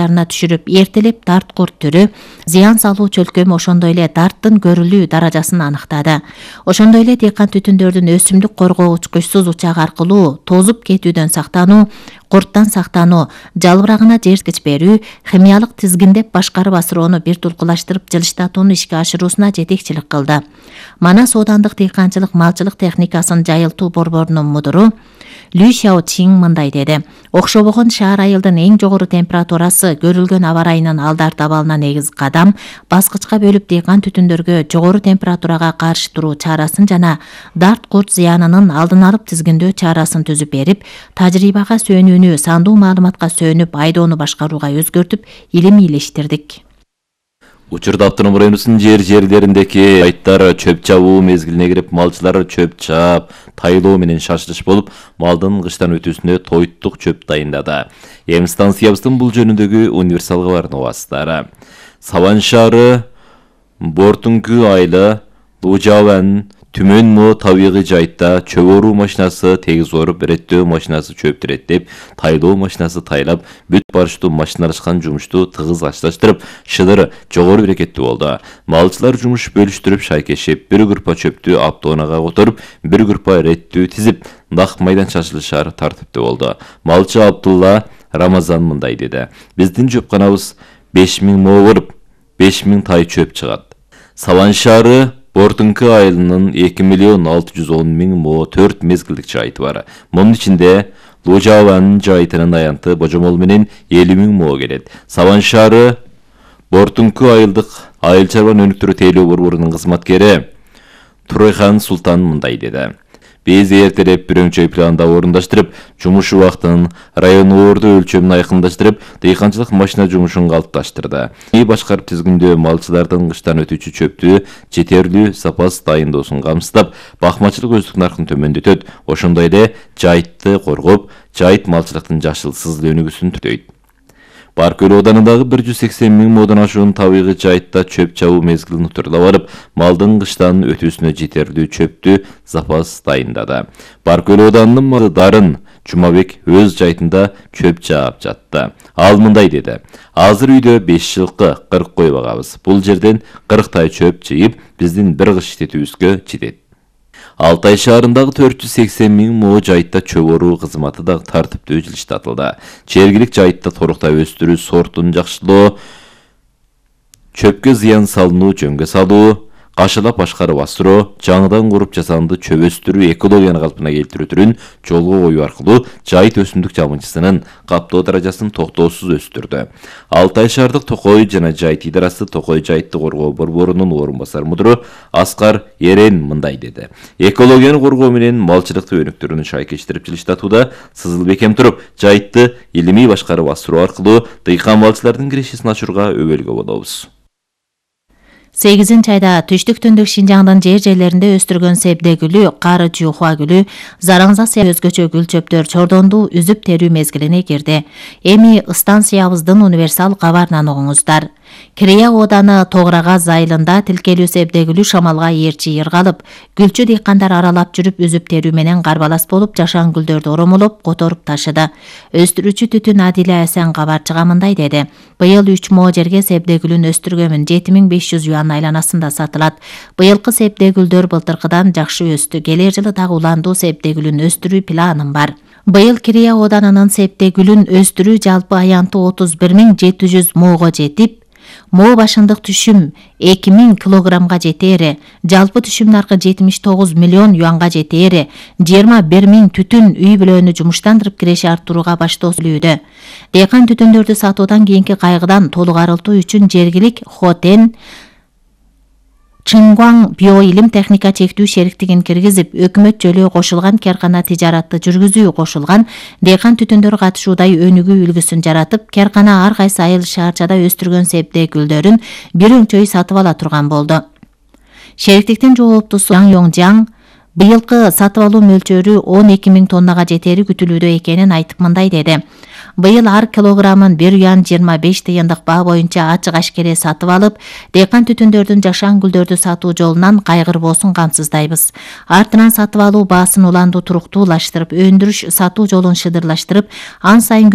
катарына түшүрүп, эртелеп дарт курт түрү, зыян салуу чөлкөмү, ошондой эле дарттын көрүлүү даражасын аныктады. Ошондой эле дыйкан түтүндөрдүн өсүмдүк коргоо учкучсуз учак аркылуу тозуп кетүүдөн сактануу, курттан сактануу, жалбырагына жерткич берүү, химиялык тизгиндеп башкарып асыроону бир тулкулаштырып жылыштатууну ишке ашыруусуна жетекчилик кылды. Манас оодандык дыйканчылык малчылык техникасын жайылтуу борборунун мудуру Лю Xiaoqing мындай деди: окшобогон шаар айылдын эң жогору температурасы көрүлгөн аба ырайынын алдарты абалына негизи кадам, баскычка бөлүп дыйкан түтүндөргө жогору температурага каршы туруу чарасын жана дарт курт зыянынын алдын алып тизгиндөө чарасын түзүп берип, тажрыйбага сүйөнүүнү сандуу маалыматка сүйөнүп айдоону башкарууга өзгөртүп, илиштирдик. Учурда автоном районунун жерлериндеки айттар чөп чабуу мезгилине кирип, малчылар чөп чаап, тайлоо менен шашылыш болуп, малдын кыштан өтүүсүнө тоyuттук чөп дайындады. Эми станциябыздын бул жөнүндөгү универсал кабарын угасыздар. Саван шаары, Бортуңкү айылы, Лужаван, Түмөн Мо табигый жайытта чөп оруу машинасы тегиз оруп, реттөө машинасы чөптү реттеп, тайлоо машинасы тайлап, бүт барыштуу машиналашкан жумушту тыгыз ачлаштырып, шыдыр жогору берекеттүү болду. Малчылар жумуш бөлүштүрүп, шайкешип, бир группа чөптү автоунаага которуп, бир группа реттүү тизип, дак майдан шашылышар тартиптүү болду. Малчы Абдулла Рамазан мындай деди: биздин жөпканабыз 5000 мо болуп, 5000 тай чөп чыгат. Саван шаары Бортуңкү айылынын 2.610.000 мо 4 мезгилдик жайыты бар. Мунун ичинде Лужаван жайытынын аянты Божомол менен 50.000 мо келет. Саван шаары Бортуңкү айылдык айыл чарба өнүктүрүү тейлөө борборунун кызматкери Турайхан Султан мындай деди: биз эртелеп бирөңчөй планда орундаштырып, жумуш убактын, район орду өлчөмүн айкындаштырып, дыйканчылык машина жумушун калыпташтырды. Башкарып тизгиндөө малчылардын кыштан өтүүчү чөптү жетерлүү запас дайындоосун камсыздап, бакмачылык өздүк наркын төмөндөтөт. Ошондой эле жайытты коргоп, жайыт малчылыктын жашылсыз өнүгүүсүн түзөйт. Баркөл оданындагы 180.000 модан ашуун табигый жайытта чөп чабуу мезгилин утурлап алып, малдын кыштан өтүүсүнө жетерлүү чөптү запас дайындады. Баркөл оданынын малы Дарын Жумабек өз жайытында чөп чаап жатты. Ал мындай деди: азыр үйдө 5 жылкы 40 кой багабыз. Бул жерден 40 тай чөп чыйып, биздин бир кыш иштетүүбүзгө жетет. Алтай шаарындагы 480.000 мо жайытта чөп оруу кызматы да тартиптүү жылыштатылды. Жергилик жайытта торукта өстүрүү, сортун жакшылоо, чөпкө зыян салынуу, жөнгө салуу, кашылап башкарып асыроо, жаңыдан куруп жасанды чөп өстүрүү, экологияны калпына келтирүү түрүн жолго коюу аркылуу жайыт өсүмдүк жамынчысынын каптоо даражасын токтоосуз өстүрдү. Алтай шаардык Токой жана жайыт идарасы Токой жайытты коргоо борборунун орун басар мудуру Аскар Ерен мындай деди: экологияны коргоо менен малчылыкты өнүктүрүүнү шайкештирип жылыштатууда сызыл бекем туруп, жайытты илимий башкарып асыруу аркылуу дыйкан малчылардын кирешесин ачууга өбөлгө болобуз. 8 айда түштүк-түндүк Шинжаңдын жерлеринде өстүргөн себде гүлү, кары жуухуа гүлү, зараңза өзгөчө гүл чөптөр чордонду үзүп терүү мезгилине кирди. Эми станциябыздын универсал кабарынан угуңуздар. Кирея ооданы Тограгаз айылында тилкелүү себде гүлү шамалга ээрчи ыргалып, гүлчү дыйкандар аралап жүрүп үзүп терүү менен карбалас болуп, жашан гүлдөрдү оромолоп, которуп ташыды. Өстүрүүчү Түтүн Адиле Асан кабарчыга мындай деди: быйыл 3 мо жерге себде гүлүн өстүргөмүн, 7500 юан айланасында сатылат. Быйылкы себде гүлдөр былтыркыдан жакшы өстү. Келер жылы дагы уландуу себде гүлүн өстүрүү планым бар. Быйыл Кирея оданынын себде гүлүн өстүрүү жалпы аянты 31700 мого жетип, мо башындык түшүм 2000 килограммга жетери, жалпы түшүм наркы 79 миллион юанга жетери, 21.000 түтүн үй бүлөнү жумуштандырып киреше арттырууга баштоосүлүүдө. Дыйкан түтүндөрдү сатуудан кийинки кайгыдан толук арылтуу үчүн жергилик Хотен Чыңгуаң биоилим техника чектүү шериктигин киргизип, өкмөт жөлөө кошулган каркана тижаратты жүргүзүү кошулган дыйкан түтүндөр катышуудай өнүгүү үлгүсүн жаратып, каркана ар кайсы айыл шаарчада өстүргөн себде гүлдөрүн бир өңчөй сатып ала турган болду. Шериктиктин жооптусу Яң Йоңжаң быйылкы сатып алуу мөлчөрү 12.000 тоннага жетери күтүлүүдө экенин айтып мындай деди: быйыл ар килограммын 1 юан 25 тыйындык баа боюнча ачык ашкере сатып алып, дыйкан түтүндөрдүн жашан гүлдөрдү сатуу жолунан кайгырбоосун камсыздайбыз. Артынан сатып алуу баасын уландуу туруктуулаштырып, өндүрүш сатуу жолун шыдырлаштырып, ан сайын